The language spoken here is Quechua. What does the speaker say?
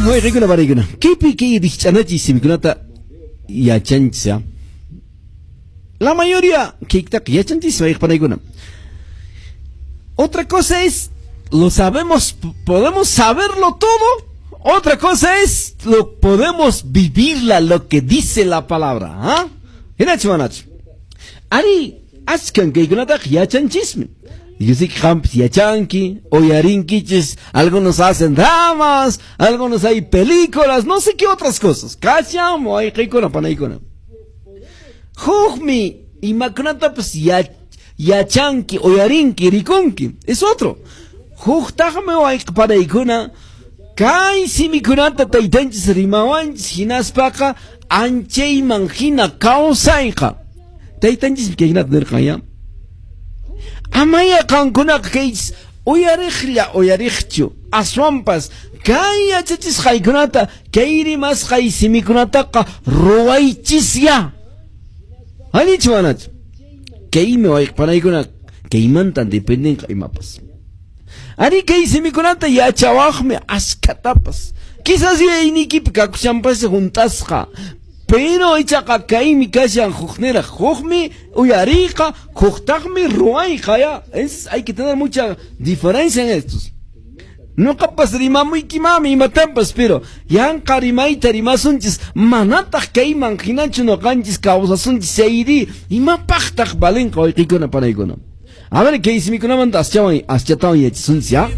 Wayqikuna panaykuna, kaypi kay rikch'anachiy simikunata yachanchis ya. La mayoría kaytaqa yachanchis, wayqi panaykuna. Otra cosa es, lo sabemos, podemos saberlo todo. Otra cosa es, lo podemos vivirla, lo que dice la palabra. ¿Ah? Hinachu manachu? Ari, achkan kaykunataqa yachanchismi. Yo sé que qampas yachanki, uyarinkichis, algunos hacen dramas, algunos hay películas, no sé qué otras cosas. Kashan wayqikuna panaykuna. Hukmi imakunatapas yachanki, uyarinki, rikunki. Es otro. Huktaqmi wayqi panaykuna, kay simikunata taytanchis rimawanchis hinaspaqa anchayman hina kawsayqa. Taytanchismi kaykunata nirqan ya. Amaya qankunaqa kaychis uyariqlla uyariqchu, aswanpas kay yachachisqaykunata, kay rimasqay simikunataqa ruwaychisya. Allinchu manachu? Kaymi wayqi panaykuna, kaymantan dependenqa imapas. Ari kay simikunata yachawaqmi askhatapas. Quizás yuyayniykipi kakushanpas hunt'asqa. Pero ichaqa kaymi kashan hukniraq, hukmi uyariyqa, huktaqmi ruwayqa ya. Es, hay que tener mucha diferencia en estos. Ñuqapas rimamuykimanmi imatampas, pero yanqa rimayta rimasunchis, manataq kayman hinachu ñuqanchis kawsasunchis chayri, imapaqtaq valinqa wayqikuna panaykuna. A ver, kay simikunamanta aschawan aschatawan yachasunchis ya.